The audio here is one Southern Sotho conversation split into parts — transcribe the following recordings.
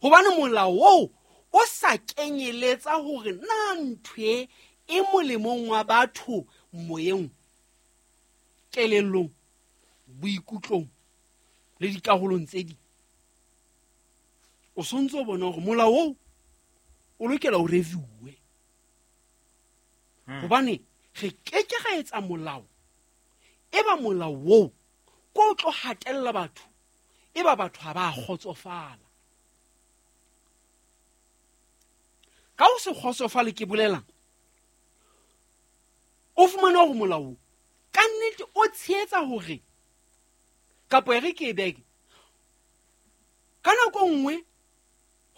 Gobane molao oo o sa kenyeletsa gore na ntho e e molemong wa batho moyeng, kelellong, boikutlong le dikarolong tse ding. O sontse o bona gore molao oo o lokela o reviewe, gobane re keke ga etsa molao e ba molao oo ko o tlo hatella batho, e ba batho ha ba kgotsofala. Ka o se kgotsofale ke bolelang, o fumane hore molao ka nnete o tshehetsa hore kapo e re ke e beke ka nako nngwe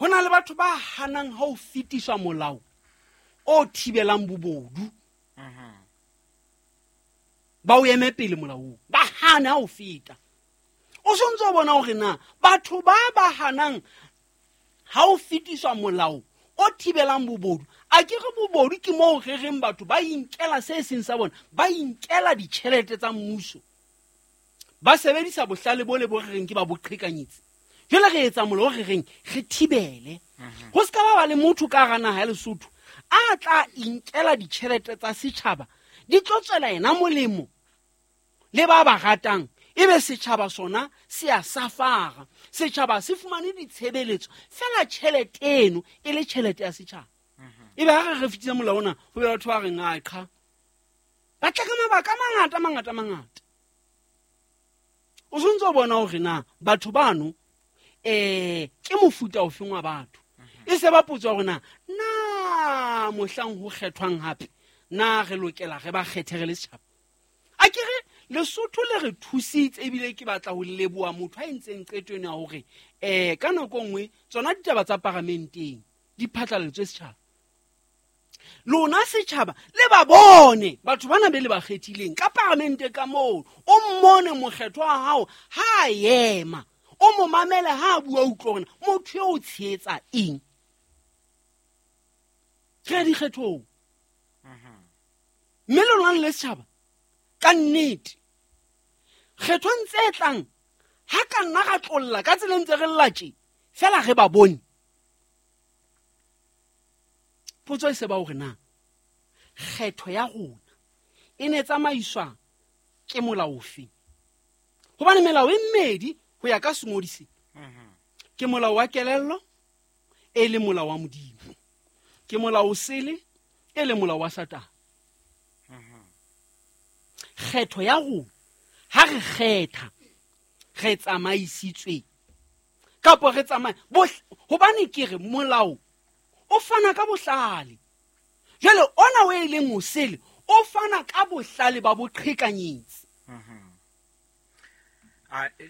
ho na le batho ba hanang ha o fetiswa molao o thibelang bobodu, ba o eme pele molaong, ba hane ha o feta. O sontse o bona hore na batho ba ba hanang ha o fetiswa molao o thibelang bobodu, a ke re bobodu ke moo re reng batho ba inkela se seng sa bona, ba inkela ditjhelete tsa mmuso, ba sebedisa bohlale bo le bo re reng ke ba boqhekanyetsi. Jwale re etsa molao re reng re thibele go se ka ba ba le motho ka hara naha ya Lesotho a tla inkela ditjhelete tsa setjhaba, di tlo tswela yena molemo le ba ba ratang, ebe setjhaba sona se a safara. Setjhaba se fumane ditshebeletso fela tjhelete eno e le tjhelete ya setjhaba. Ebe ha re fetisa molao ona, ho be batho ba reng a qha, ba tla ka mabaka a mangata mangata mangata. O sontse o bona hore na batho bano ke mofuta ofeng wa batho. E se ba potso hore na na mohlang ho kgethwang hape na re lokela re ba kgethe re le setjhaba. A ke re Lesotho le re thusitse, ebile ke batla ho leboha motho a entseng qeto ena ya hore ka nako nngwe tsona ditaba tsa paramenteng di phatlaletswe setjhaba. Lona setjhaba le ba bone batho bana be le ba kgethileng ka paramente ka moo, o mmone mokgetho wa hao ha a ema, o mo mamele ha a bua, utlwe hore motho eo o tshehetsa eng. Re ya dikgethong, mme lona le setjhaba ka nnete kgethong tse tlang ha ka nna ra tlolla ka tseleng tse re lla tje fela re ba bone. Potso e se ba hore na kgetho ya rona e ne tsamaiswa ke molao ofe, hobane melao e mmedi ho ya ka sengodi se, ke molao wa kelello e le molao wa Modimo, ke molao o sele e le molao wa Satane. Kgetho ya rona ha re kgetha re tsamaisitswe kapo re tsamaya hobane ke re molao o fana ka bohlale. Jwale ona o e leng o sele o fana ka bohlale ba boqhekanyetsi.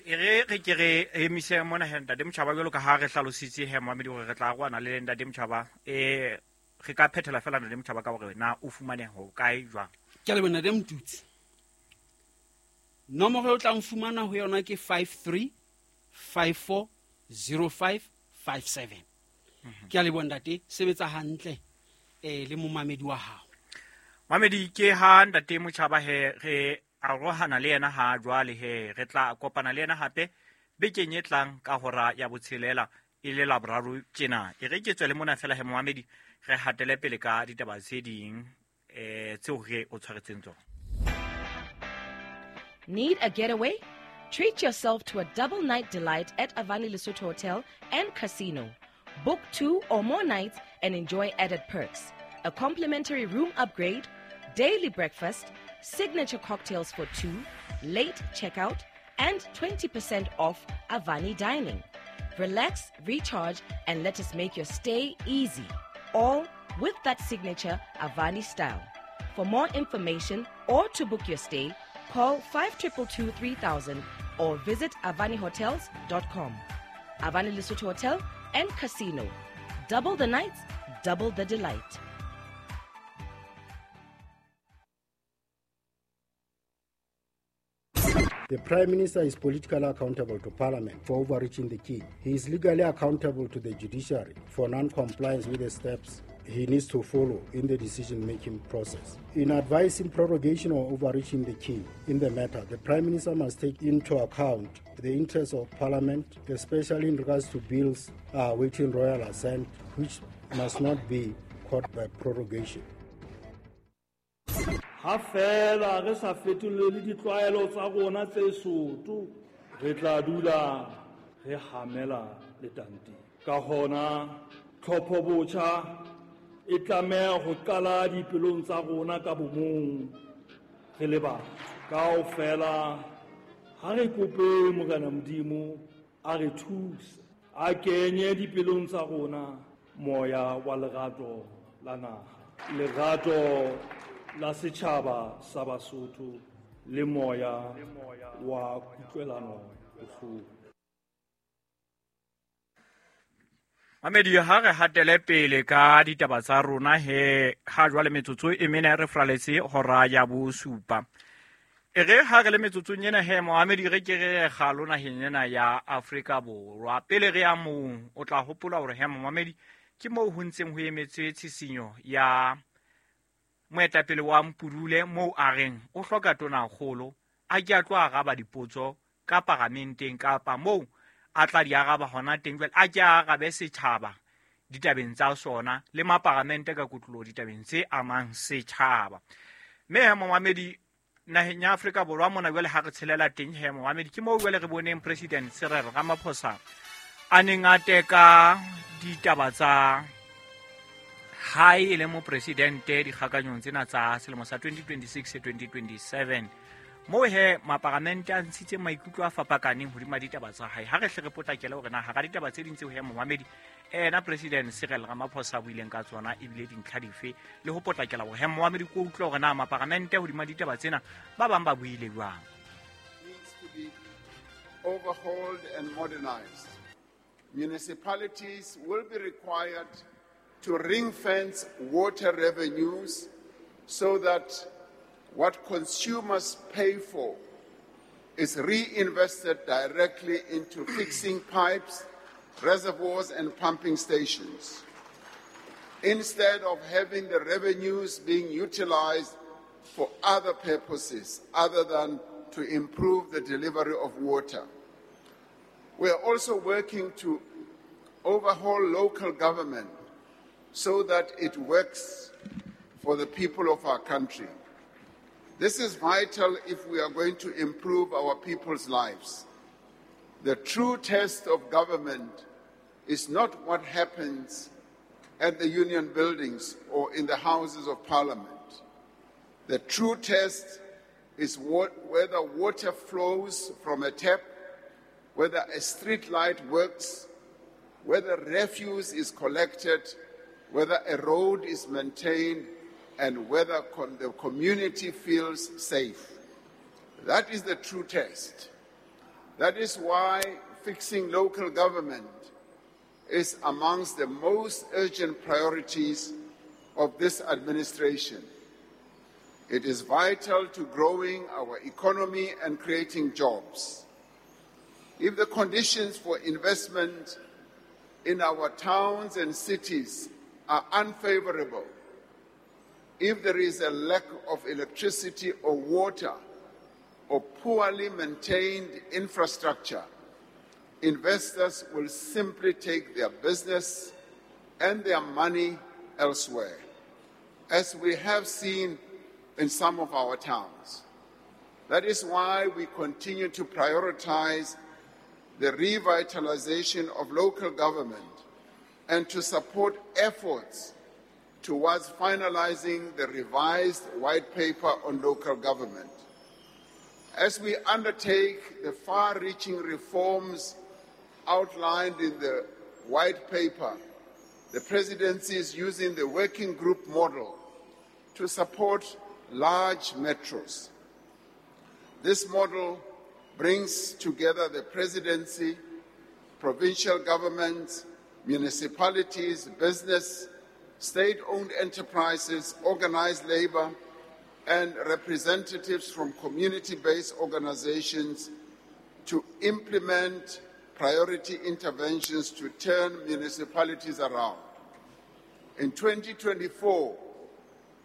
E re ke re emise mona he Ntate Motjhaba, jwalo ka ha re hlalositse he momamedi hore re tla arohana le Ntate Motjhaba. Re ka phethela fela Ntate Motjhaba ka hore na o fumaneha ho kae jwang. Ke a leboha Ntate Motutsi. Nomoro e o tlang fumana ho yona ke 53 54 05 57. Ke a leboha ntate, sebetsa hantle le momamedi wa hao. Mamedi, ke ha Ntate Motjhaba he re arohana le yena ha jwale he re tla kopana le yena hape bekeng e tlang ka hora ya botshelela e le Laboraro tjena. E re ke tswele mona fela he momamedi, re hatele pele ka ditaba tse ding tseo re o tshwaretseng tsona. Need a getaway? Treat yourself to a double night delight at Avani Lesotho Hotel and Casino. Book 2 or more nights and enjoy added perks. A complimentary room upgrade, daily breakfast, signature cocktails for 2, late checkout, and 20% off Avani dining. Relax, recharge, and let us make your stay easy. All with that signature Avani style. For more information or to book your stay, call 5222 3000 or visit avanihotels.com. Avani Lesotho Hotel and Casino. Double the nights, double the delight. The Prime Minister is politically accountable to Parliament for overreaching the king. He is legally accountable to the judiciary for non-compliance with the steps he needs to follow in the decision-making process. In advising prorogation or overreaching the king in the matter, the Prime Minister must take into account the interests of Parliament, especially in regards to bills awaiting royal assent, which must not be caught by prorogation. Ha fela re sa fetolele ditlwaelo tsa rona tse soto, re tla dula re hamela letanteng. Ka hona tlhopho botjha e tlameha ho qala dipelong tsa rona ka bomong re le batho. Kaofela ha re kope Morena Modimo a re thuse, a kenye dipelong tsa rona moya wa lerato la naha, lerato la setjhaba sa Basotho le moya wa kutlwelano bohloko. Mamedi, ha re hatele pele ka ditaba tsa rona he ha jwale metsotso e mene re fraletse hora ya bosupa. E re ha re le metsotsong ena he Mohamedi, re ke re kgalo naheng ena ya Afrika Borwa. Pele re ya moo, o tla hopola hore he Mohamedi ke moo ho ntseng ho emetswe tshisinyo ya moetapele wa Mpudule moo a reng o hloka tonakgolo a ke a tlo araba dipotso ka paramenteng kapa moo a tla di araba hona teng jwale a ke a arabe setjhaba ditabeng tsa sona le maparamente ka kotloloho ditabeng tse amang setjhaba. Mme he Mohamedi, naheng ya Afrika Borwa mona jwale ha re tshelela teng he Mohamedi, ke moo jwale re boneng President Cyril Ramaphosa a neng a teka ditaba tsa hae e le mopresidente dikgakanyong tsena tsa selemo sa 2026-2027 moo he maparamente a ntshitse maikutlo a fapakaneng hodima ditaba tsa hae. Ha re hle re potlakele hore na hara ditaba tse ding tseo he Mohamedi ena President Cyril Ramaphosa a buileng ka tsona ebile dintlha dife, le ho potlakela hore he Mohamedi ko utlwe hore na maparamente hodima ditaba tsena ba bang ba buile jwang. Needs to be overhauled and modernized. Municipalities will be required to ring-fence water revenues so that what consumers pay for is reinvested directly into fixing pipes, reservoirs, and pumping stations, instead of having the revenues being utilized for other purposes other than to improve the delivery of water. We are also working to overhaul local government so that it works for the people of our country. This is vital if we are going to improve our people's lives. The true test of government is not what happens at the union buildings or in the houses of parliament. The true test is whether water flows from a tap, whether a street light works, whether refuse is collected, whether a road is maintained, and whether the community feels safe. That is the true test. That is why fixing local government is amongst the most urgent priorities of this administration. It is vital to growing our economy and creating jobs. If the conditions for investment in our towns and cities are unfavorable, if there is a lack of electricity or water or poorly maintained infrastructure, investors will simply take their business and their money elsewhere, as we have seen in some of our towns. That is why we continue to prioritize the revitalization of local government and to support efforts towards finalizing the revised white paper on local government. As we undertake the far-reaching reforms outlined in the white paper, the presidency is using the working group model to support large metros. This model brings together the presidency, provincial governments, municipalities, business, state-owned enterprises, organized labor, and representatives from community-based organizations to implement priority interventions to turn municipalities around. In 2024,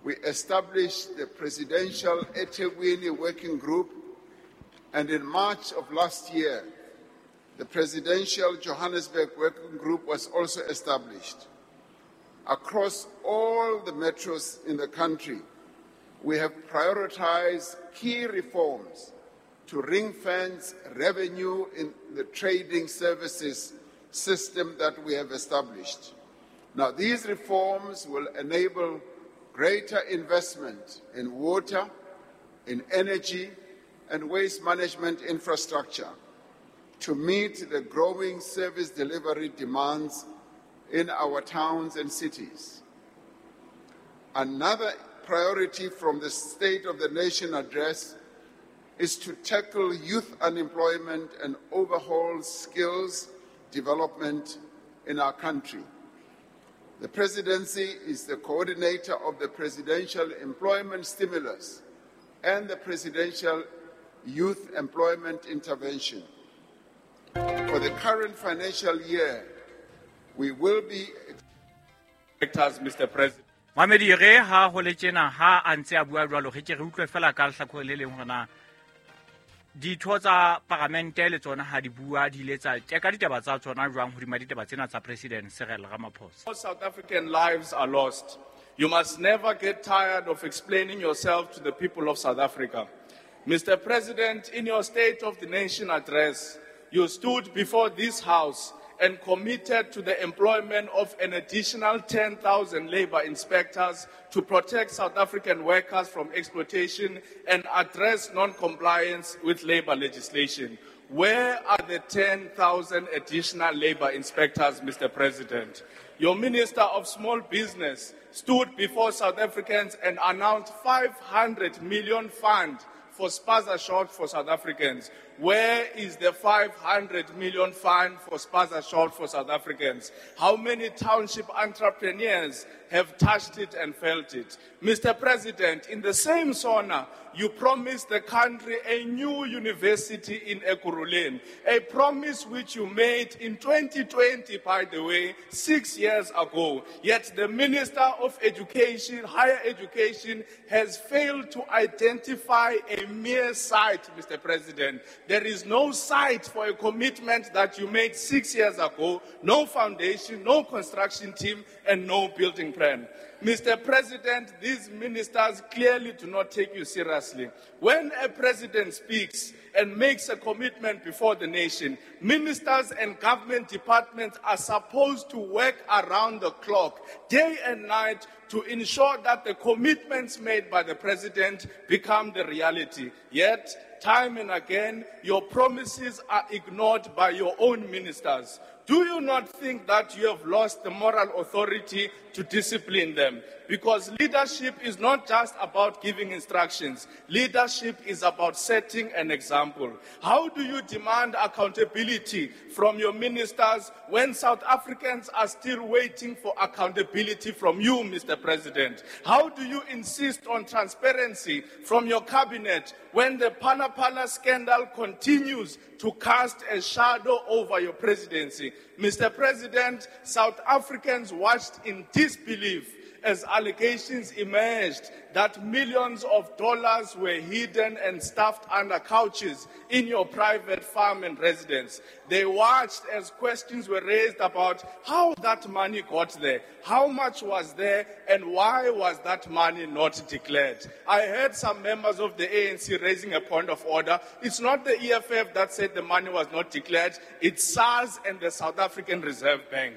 we established the Presidential eThekwini Working Group, and in March of last year, the Presidential Johannesburg Working Group was also established. Across all the metros in the country, we have prioritized key reforms to ring-fence revenue in the trading services system that we have established. Now, these reforms will enable greater investment in water, in energy, and waste management infrastructure to meet the growing service delivery demands in our towns and cities. Another priority from the State of the Nation address is to tackle youth unemployment and overhaul skills development in our country. The presidency is the coordinator of the Presidential Employment Stimulus and the Presidential Youth Employment Intervention. For the current financial year, we will be... Mr. President. Mamedi re ha ho le tjena ha a ntse a bua jwalo re ke re utlwe fela ka lehlakore le leng hore na ditho tsa paramente le tsona ha di bua di ile tsa teka ditaba tsa tsona jwang hodima ditaba tsena tsa President Cyril Ramaphosa. South African lives are lost. You must never get tired of explaining yourself to the people of South Africa. Mr. President, in your State of the Nation address, you stood before this House and committed to the employment of an additional 10,000 labor inspectors to protect South African workers from exploitation and address non-compliance with labor legislation. Where are the 10,000 additional labor inspectors, Mr. President? Your Minister of Small Business stood before South Africans and announced 500 million fund for spaza shop for South Africans. Where is the 500 million fund for spaza shop for South Africans? How many township entrepreneurs have touched it and felt it? Mr. President, in the same SONA, you promised the country a new university in Ekurhuleni, a promise which you made in 2020, by the way, 6 years ago. Yet the Minister of Education, Higher Education, has failed to identify a mere site, Mr. President. There is no site for a commitment that you made 6 years ago, no foundation, no construction team, and no building plan. Mr. President, these ministers clearly do not take you seriously. When a president speaks and makes a commitment before the nation, ministers and government departments are supposed to work around the clock, day and night, to ensure that the commitments made by the president become the reality. Yet, time and again, your promises are ignored by your own ministers. Do you not think that you have lost the moral authority to discipline them? Because leadership is not just about giving instructions. Leadership is about setting an example. How do you demand accountability from your ministers when South Africans are still waiting for accountability from you, Mr. President? How do you insist on transparency from your cabinet when the Phala Phala scandal continues to cast a shadow over your presidency? Mr. President, South Africans watched in disbelief as allegations emerged that millions of dollars were hidden and stuffed under couches in your private farm and residence. They watched as questions were raised about how that money got there, how much was there, and why was that money not declared. I heard some members of the ANC raising a point of order. It's not the EFF that said the money was not declared. It's SARS and the South African Reserve Bank.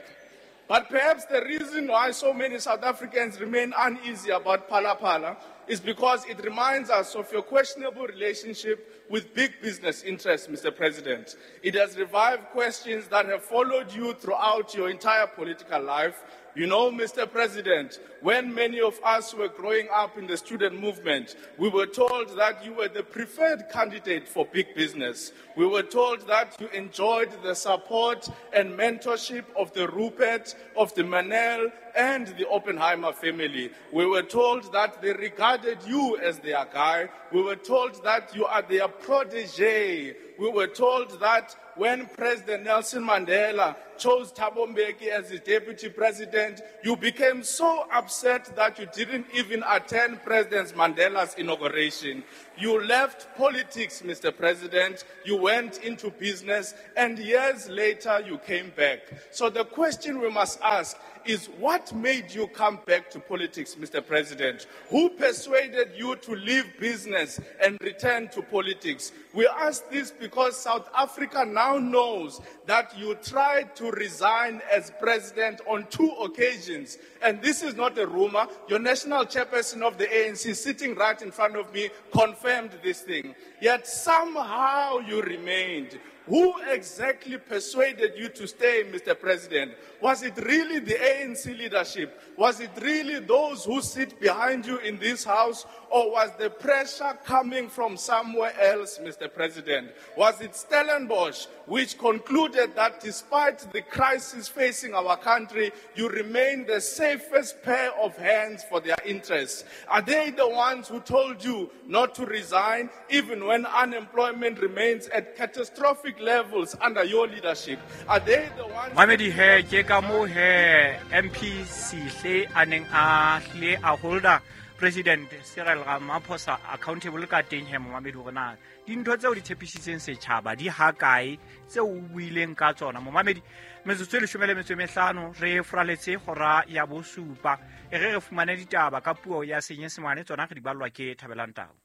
But perhaps the reason why so many South Africans remain uneasy about Phala Phala is because it reminds us of your questionable relationship with big business interests, Mr. President. It has revived questions that have followed you throughout your entire political life. You know, Mr. President, when many of us were growing up in the student movement, we were told that you were the preferred candidate for big business. We were told that you enjoyed the support and mentorship of the Rupert, of the Manel, and the Oppenheimer family. We were told that they regarded you as their guy. We were told that you are their protege. We were told that when President Nelson Mandela chose Thabo Mbeki as his deputy president, you became so upset that you didn't even attend President Mandela's inauguration. You left politics, Mr. President. You went into business, and years later you came back. So the question we must ask is, what made you come back to politics, Mr. President? Who persuaded you to leave business and return to politics? We ask this because South Africa now knows that you tried to resign as president on 2 occasions. And this is not a rumor. Your national chairperson of the ANC, sitting right in front of me, confirmed this thing. Yet somehow you remained. Who exactly persuaded you to stay, Mr. President? Was it really the ANC leadership? Was it really those who sit behind you in this house? Or was the pressure coming from somewhere else, Mr. President? Was it Stellenbosch, which concluded that despite the crisis facing our country, you remain the safest pair of hands for their interests? Are they the ones who told you not to resign, even when unemployment remains at catastrophic levels under your leadership? Are they the ones... Mamedi he ke ka mo he MP Sihle a neng a hlile a holda President Cyril Ramaphosa accountable ka teng he momamedi hore na dintho tseo di tshepisitseng setjhaba di ha kae tseo o buileng ka tsona. Momamedi, metsotso e 15 re fraletse hora ya bosupa e re re fumane ditaba ka puo ya Senyesemane, tsona re di ballwa ke Thabelang Tau.